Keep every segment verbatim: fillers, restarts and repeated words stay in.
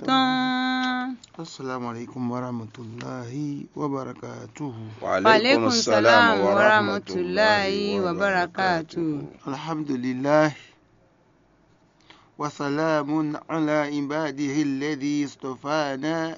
tɔn. Assalamu alaikum warahmatullahi wabarakatuhu. Wa alaikum salam warahmatullahi wabarakatuhu. Alhamdulillah. Wa salamun ala ibadihi alladhi istafana,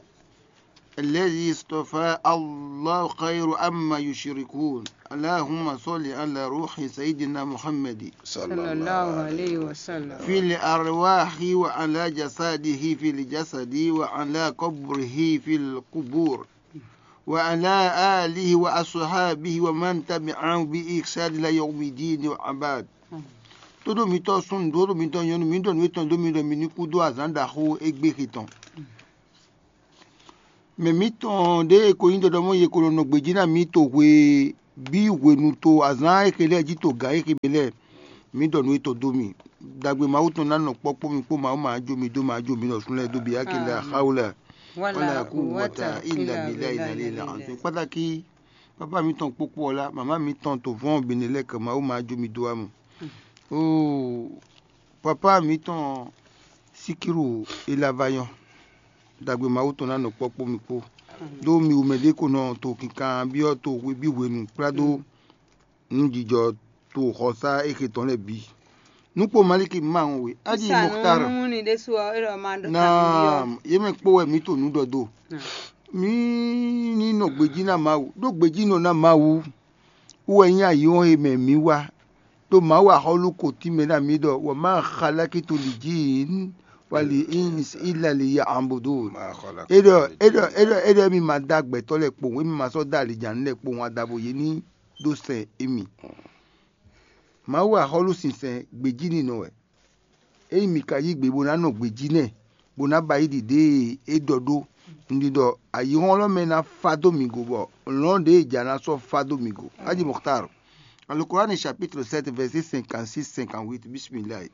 alladhi istafa, Allahu khairu amma yushrikun. Allahumma salli ala ruhi sayyidina Muhammadi. Sallallahu alaihi wasallam. Fil arwahi wa ala jasadihi fil jasadi wa ala qabrihi fil qubur. Wa ala alihi wa ashabihi wa man tabi'ahu bi ihsan ila yawmiddin wa abad. Tódó mitɔ́ súnnu, tódó mitɔ́ nyɔ̌nu, mǐ ɖɔ nǔ étɔn dó mi ɖɔ mi ní kú dó azǎn ɖaxó égbé he tɔn. Mɛ mǐtɔn ɖěe ko nyí ɖɔɖɔmɔ́ ye ko nɔ nɔ gbějí ná mǐ to hwe bí hwenu to azǎn e xe lɛ́ɛ jí to gǎn e xe mɛ lɛ́ɛ, mǐ ɖɔ nǔ étɔn dó mi. Dagbe Mawu tɔn ná nɔ kpɔ́kpɔ́ mi kpó Mawu ma jó mi dó ma jó mi ɖɔ súnnu lɛ́ɛ dó bǐ yá ke lɛ axáwó lɛ. Wala kú wata ila bila ila ila azɔn kpátákí. Papa mǐtɔn kpókpó ɔ́ lá, mama mǐtɔn to vɔ́n bǐ ne lɛ́ɛ kɛ Mawu ma jó mi dó wá mɔ. Oo, papa mǐtɔn Sikiru Ilavayɔn, dagbe Mawu tɔn ná nɔ kpɔ́kpɔ́ mi kpó. Ɖó mi wú mɛ ɖé ko nɔ to kinkan byɔ́ to hwe bí hwenu kplá dó nǔjijɔ to xɔsá éxe tɔn lɛ́ɛ bǐ. Nukpo Maliki ma ŋɔ we. Aji Muxtar. Nú ni ɖésú ɔ́, é ɖɔ ma ɖó Naam, yě mɛ kpó wɛ mǐ to nǔ ɖɔ dó. Mǐ ní nɔ gbejí ná Mawu, ɖó gbejínɔ ná Mawu wú wɛ nyí ayǐhɔ́n e mɛ mǐ wá. Ɖó Mawu axɔ́lú ko tínmɛ ná mǐ ɖɔ wɔ má xalákí to lǐ jí wali ins ila li ya ambodo. É ɖɔ é ɖɔ é ɖɔ é ɖɔ émí ma dó agbɛtɔ́ lɛ́ɛ kpowun, émí ma sɔ́ dó alijanú lɛ́ɛ kpowun adavo yě ní ɖó sɛn émí. Mawu axɔ́lú sinsɛn gbějíninɔ wɛ. Ényí mi ka yí gbe bó ná nɔ gbejí nɛ́, bó ná ba yí ɖiɖée e é ɖɔ ɖó, un ɖi ɖɔ ayǐhɔ́nglɔ́mɛ ná fá dó mi go bɔ lɔ̌n ɖěe è jǎ ná sɔ́ fá dó mi go. Aji Muxtar, Alukurani chapitre sept, verset cinquante-six, cinquante-huit. Bismillah.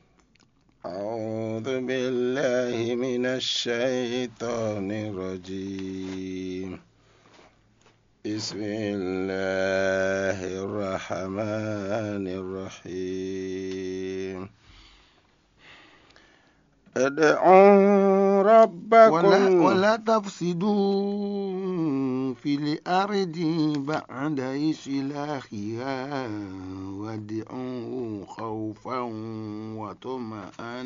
أعوذ بالله من الشيطان الرجيم. بسم الله الرحمن الرحيم. ادعوا ربكم ولا، ولا تفسدوا في الأرض بعد إصلاحها وادعوه خوفا وطمعا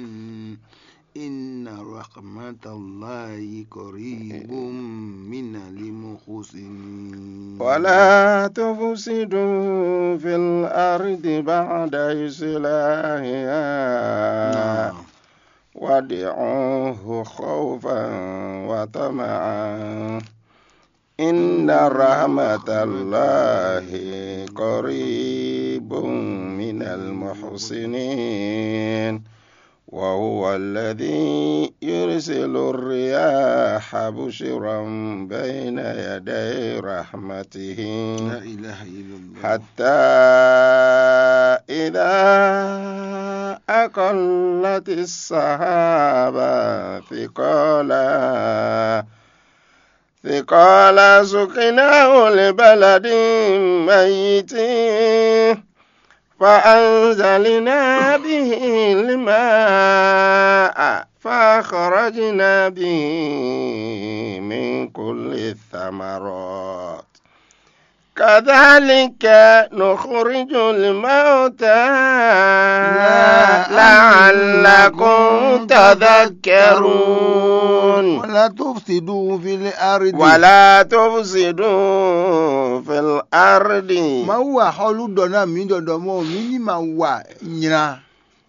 إن رحمة الله قريب من المحسنين. ولا تفسدوا في الأرض بعد إصلاحها. نعم. وادعوه خوفا وطمعا. إن رحمة الله قريب من المحسنين. وهو الذي يرسل الرياح بشرا بين يدي رحمته. لا إله إلا الله. حتى إذا أقلت السحاب ثقالا ثقالا سقناه لبلد ميت فأنزلنا به الماء فأخرجنا به من كل الثمرات كذلك نخرج الموتى لعلكم تذكرون. ولا تفسدوا في الأرض. ولا تفسدوا في الأرض. Mawu axɔ́lú ɖɔ ná mǐ ɖɔɖɔ mɔ mǐ ní ma wa nylá,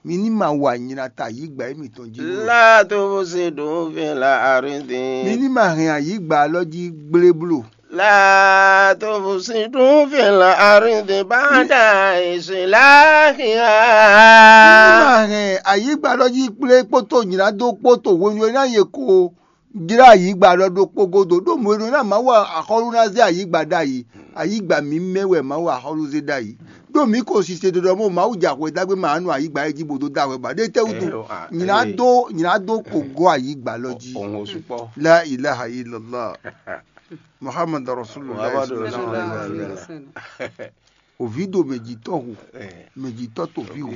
mǐ ní ma wa nylá ta yǐgbà émítɔn jí. لا تفسدوا في الأرض. Mǐ ní ma hɛn ayǐgbà alɔ jí gblé bló. لا تفسدوا في الأرض بعد إصلاحها. Ní ma hɛn ayǐgba ɖɔ jí kplé kpótó nyǐɖádó kpótó hwenu e ná yě ko jlá ayǐgba ɖɔ ɖokpó gúdo, ɖó mɔ̌ e ɖó ná Mawu axɔ́lú ná zé ayǐgba ɖ'ayǐ. Ayǐgba mǐmɛ́ wɛ Mawu axɔ́lú zé ɖ'ayǐ. Ɖó mǐ ko sise ɖiɖɔ mɔ Mawu jɛ axwe ɖagbe ma nú ayǐgba e jí bó dó dó axwe ba ɖé tɛ́ wútu? Nyǐɖádó, nyǐɖádó ko gɔ́ ayǐgba lɔ jí. La ilaha illallah. Muhammad Rasulullah. Òví ɖo mɛjitɔ́ hu, mɛjitɔ́ to vǐ hu.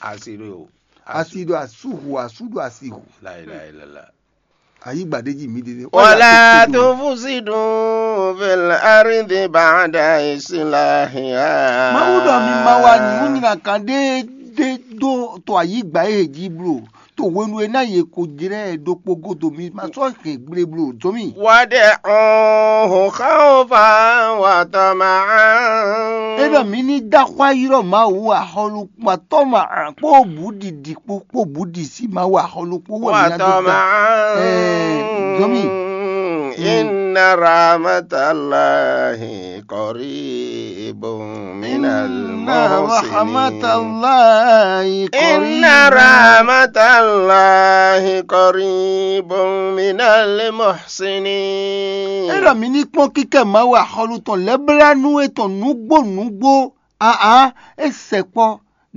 Asi ɖo asi ɖo asú hu, asú ɖo asi hu. La ilaha illallah. Ayǐgba ɖé jí mǐ ɖe. ولا تفسدوا في الأرض بعد إصلاحها. Mawu ɖɔ mi ma wa nǔnywɛ́kan ɖé ɖé dó to ayǐgba e jí blo, to hwenu e ná yě ko jlɛ́ ɖokpó godo mi ma sɔ́ hɛn gble blo zɔ́n mì. وادعوه خوفا وطمعا. É ɖɔ mǐ ní dó axwá ylɔ́ Mawu axɔ́lú kpatɔ́ ma kpó bǔɖiɖi kpó kpó bǔɖi sí Mawu axɔ́lú kpó wɛ mǐ ná dó dá. وطمعا. Ɛɛ, zɔ́n mì. إن رحمة الله قريب من إن رحمة المحسنين. الله إن قريب. رحمة الله قريب من المحسنين. É ɖɔ mǐ ní kpɔ́n kíkɛ Mawu axɔ́lú tɔn lɛ́blánú étɔn nǔgbó nǔgbó. Aa, é sɛkpɔ́